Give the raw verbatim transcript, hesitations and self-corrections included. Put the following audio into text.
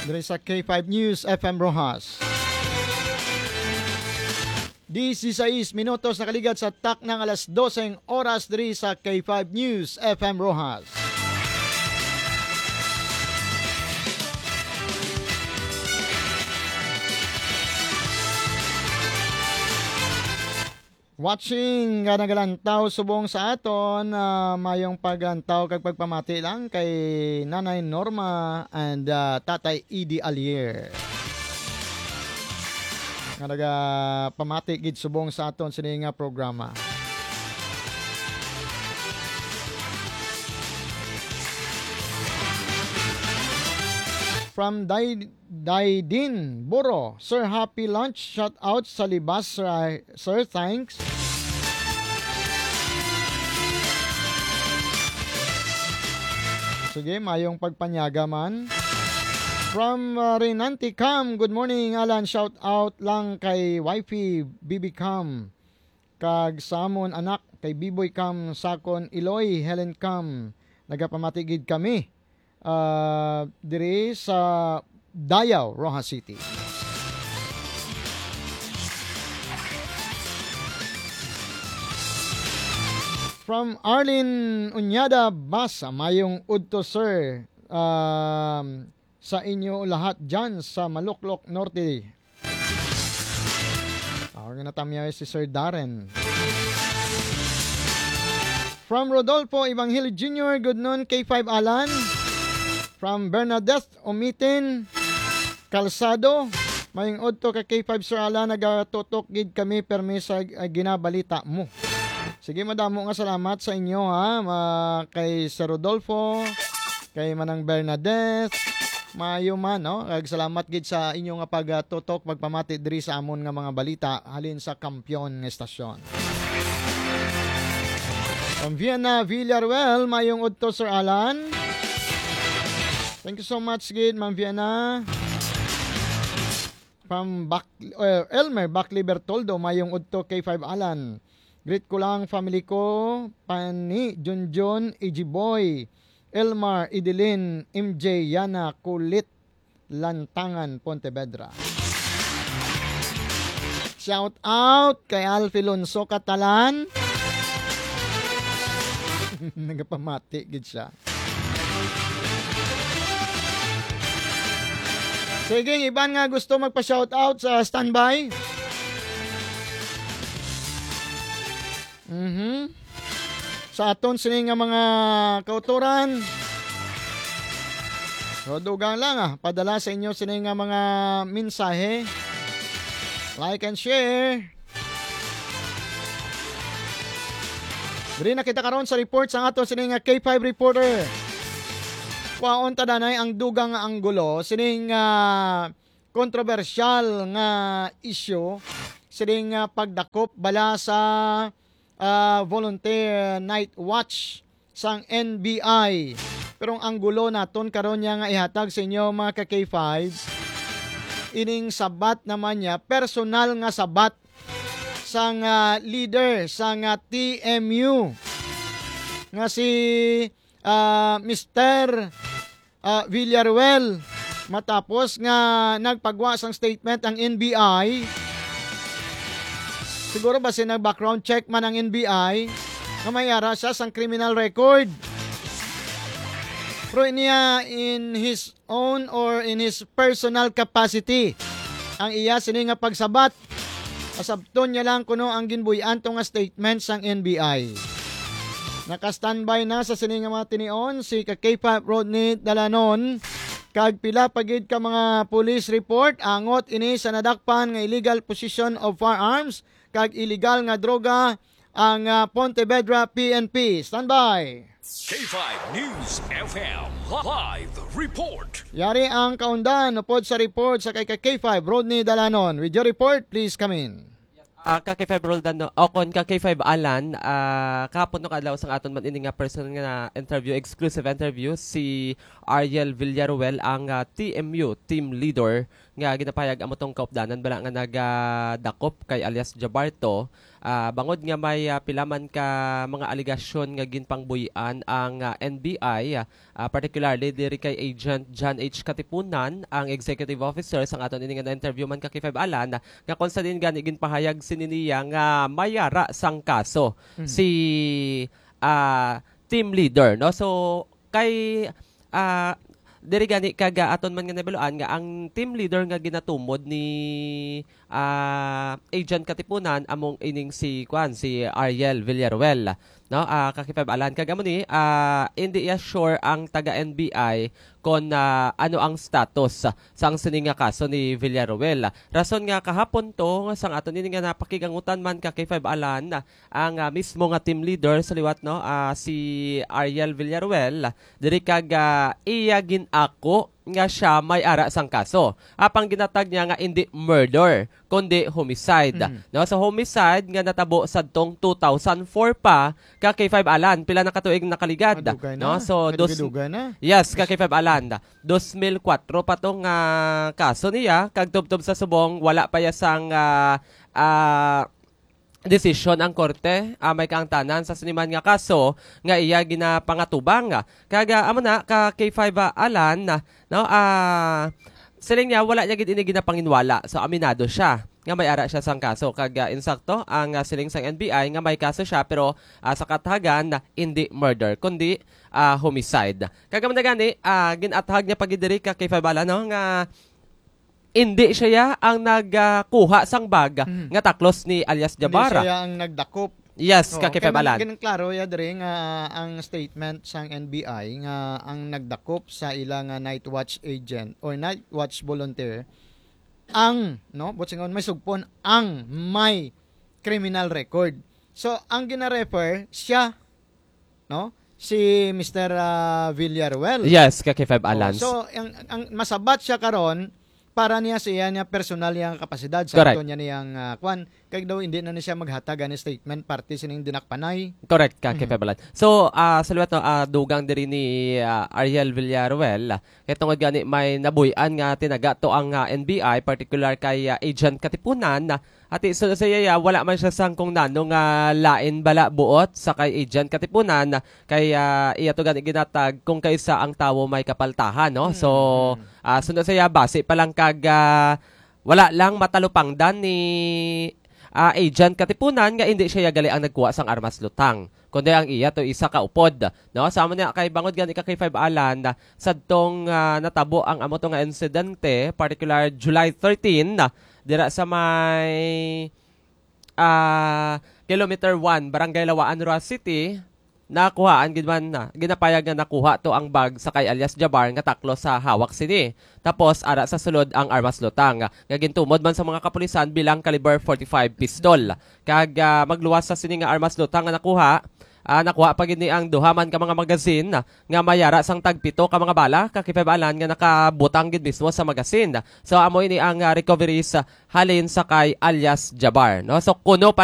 Diri sa K five News F M Roxas. Dieciséis minutos nakaligad sa taknang alas dose ang oras diri sa K five News F M Roxas. Watching nga nagalantaw subong sa aton, ah, mayong paglantaw kag pagpamati lang kay Nanay Norma and, ah, Tatay Eddie Alier. Nga nagapamati gid subong sa aton sini nga programa. From Day Daydin Buro, Sir, happy lunch. Shout out sa Libas, Sir, sir, thanks. Sige, mayong pagpanyaga man. From, uh, Renante Cam, good morning, Alan. Shout out lang kay wifey, Bibi Cam. Kag sa amon anak, kay Biboy Cam, Sakon, Iloy, Helen Cam. Nagapamati gid kami ah, diri sa Dayao, Roxas City. From Arlene Uñada Basa, mayong udto, sir, um, sa inyo lahat dyan sa Maluklok Norte. Ako nga natamyaw si Sir Darren. From Rodolfo Evangelio Junior, good noon, K five Alan. From Bernadette Umitin Calzado, mayong udto ka K five Sir Alan, nagatutok gid kami permi sa, ah, ginabalita mo. Sige, madamo nga salamat sa inyo, ha, ma-, kay Sir Rodolfo, kay Manang Bernadette, maayo man, no? Kag salamat gid sa inyo nga pagtutok, pagpamati diri sa amon nga mga balita halin sa Kampiyon nga Estasyon. From Vienna, Villaruel, mayong udto, Sir Alan. Thank you so much gid, Ma'am Vienna. From Bac-, eh, Elmer Bacli Bertoldo, mayong udto, K five Alan. Greet ko lang family ko, Pani, Junjun, Ijiboy, Elmar, Idilin, M J, Yana, Kulit, Lantangan, Pontevedra. Shout out kay Alfie Lonso Catalan. Nagapamati gid siya. Sige, ang iban nga gusto magpa-shout out sa standby. Mhm. Sa aton sini nga mga kautoran. So, dugang lang, ah, padala sa inyo sini nga mga mensahe. Like and share. Diri na kita karon sa report sa aton sini nga K five reporter. Kwaon ta danay ang dugang nga anggulo sining, ah, kontrobersyal nga isyu, sining, ah, pagdakop bala sa, ah, volunteer night watch sang N B I. Pero ang anggulo naton karon niya nga ihatag sa inyo, mga ka-K five, ining sabat naman niya, personal nga sabat sang, ah, leader sang, ah, T M U nga si, ah, Mister, ah, Villaruel. Matapos nga nagpagwa sang statement ang N B I, siguro ba si nag-background check man ang N B I, nga may ara siya sang criminal record. Pero niya, in his own or in his personal capacity, ang iya sini nga pagsabat, asabton niya lang kuno ang ginbuy-an to nga statement sang N B I. Naka-standby na sa sini nga mga tinion si ka K five Rodney Dalanon, kag pila pa gid ka mga police report angot ini sa nadakpan nga illegal possession of firearms kag illegal nga droga ang, ah, Pontevedra P N P. Standby. K five News F M live report. Yari ang kaundan upod sa report sa kay ka K five Rodney Dalanon. With your report, please come in. Ah, ka K five Roldan, no? O kon ka K five Alan, ah, kahapon no kadlaw sang aton man ini nga personal nga interview, exclusive interview, si Ariel Villaruel, ang, ah, T M U team leader nga ginapahayag amo tong kaupdanan bala nga nagadakop kay alias Jabarto Ah, bangod nga may, ah, pila man ka mga alegasyon nga ginpangbuy-an ang, ah, N B I, ah, particularly diri kay Agent John H. Katipunan, ang executive officer sang aton ini nga na-interview man ka K five Alan, nga kung sa diin gani ginpahayag sini niya nga may ara sang kaso Mhm. si, ah, team leader, no? So, kay, ah, diri gani kag, ah, aton man nga nabaluan nga ang team leader nga ginatumod ni, ah, Agent Katipunan among ining si, kuan, si Ariel Villaruel, no? Ah, ka K five Alan. Kag amo ni, ah, hindi iya sure ang taga N B I kon, ah, ano ang status sang sini nga kaso ni Villaruel. Rason nga kahapon to, sang aton ini nga napakigangutan man ka K five Alan, ang, ah, mismo nga team leader sa liwat, no, ah, si Ariel Villaruel, diri kag, ah, iya gin-ako nga siya may ara sang kaso. Apang ginatag niya nga indi murder, kundi homicide. Mhm. No, sa homicide nga natabo sadtong two thousand four pa, ka K five Alan, pila na ka tuig nakaligad. Madugay na. No, so, dos-, Madugay-dugay na. Yes, ka K five Alan. Dos mil kuwatro pa to nga kaso niya, kag tubtob sa subong, wala pa ya sang, ah, ah, desisyon ang korte, ah, may kaangtanan sa siniman nga kaso nga iya ginapangatubang. Kag, ah, amo na, ka K five, ah, Alan, no, ah, siling niya, wala niya gid ini ginapanginwala. So, aminado siya nga may ara siya sang kaso. Kag, ah, insakto, ang, ah, siling sang N B I nga may kaso siya, pero, ah, sa kathagan, hindi murder, kundi, ah, homicide. Kag amo na gani, ah, gin-athag niya pa gid diri ka K five Alan, no, nga hindi siya ang nagkuha sang bag Mhm. nga taklos ni alias Hindi Jabbar. siya ang nagdakop. Yes, Oo, ka K five kay man-, Alan. Ganang klaro ya diri nga ang statement sang N B I nga ang nagdakop sa ila nga night watch agent or night watch volunteer ang, no, buot silingon, may sugpon ang may criminal record. So, ang gina-refer siya, no, si Mister, ah, Villaruel. Yes, ka K five Oh, Alan. so, ang, ang masabat siya karon para niya sa iya niya personal yang kapasidad sa Correct. ato niya niyang, ah, kwan, kag daw hindi na ni siya maghatag ani statement parte sining dinakpanay. Correct ka, Mhm. K five Alan. So, ah, sa liwat, no, ah, dugang diri ni, ah, Ariel Villaruel, kay tungod gani may nabuy-an nga tinaga to ang, ah, N B I, particular kay, ah, Agent Katipunan, Ati, so, sa iya, wala man siya sang kung nano nga lain bala buot sa kay Agent Katipunan, kay, ah, iya to gani ginatag kung kaysa ang tawo may kapaltahan, no? So, Mm, mm. ah, suno sa iya, base pa lang kag, ah, wala lang matalupangdan ni, ah, Agent Katipunan nga hindi siya gali ang nagkuha sang armas lutang, kundi ang iya to isa ka upod, no? Sa amo niya, kay bangod gani ka kay Five Alan, sadtong, ah, natabo ang amo to nga insidente, particular July thirteen, dira sa may, ah, Kilometer one, Barangay Lawaan, Roxas City, nakuhaan gid man na, ginapayag nga nakuha to ang bag sa kay alias Jabar nga taklo sa hawak sini. Tapos, ara sa sulod ang armas lutang, nga gintumod man sa mga kapulisan bilang caliber forty-five pistol. Kag, ah, magluwas sa sini nga armas lutang nga nakuha, ah, nakuha pa gid ni ang duha man ka mga magazine nga may ara sang tagpito ka mga bala, ka K five Alan nga nakabutang gid mismo sa magazine. So, amo ini ang, ah, recoveries, ah, halin sa kay alias Jabar, no? So, kuno pa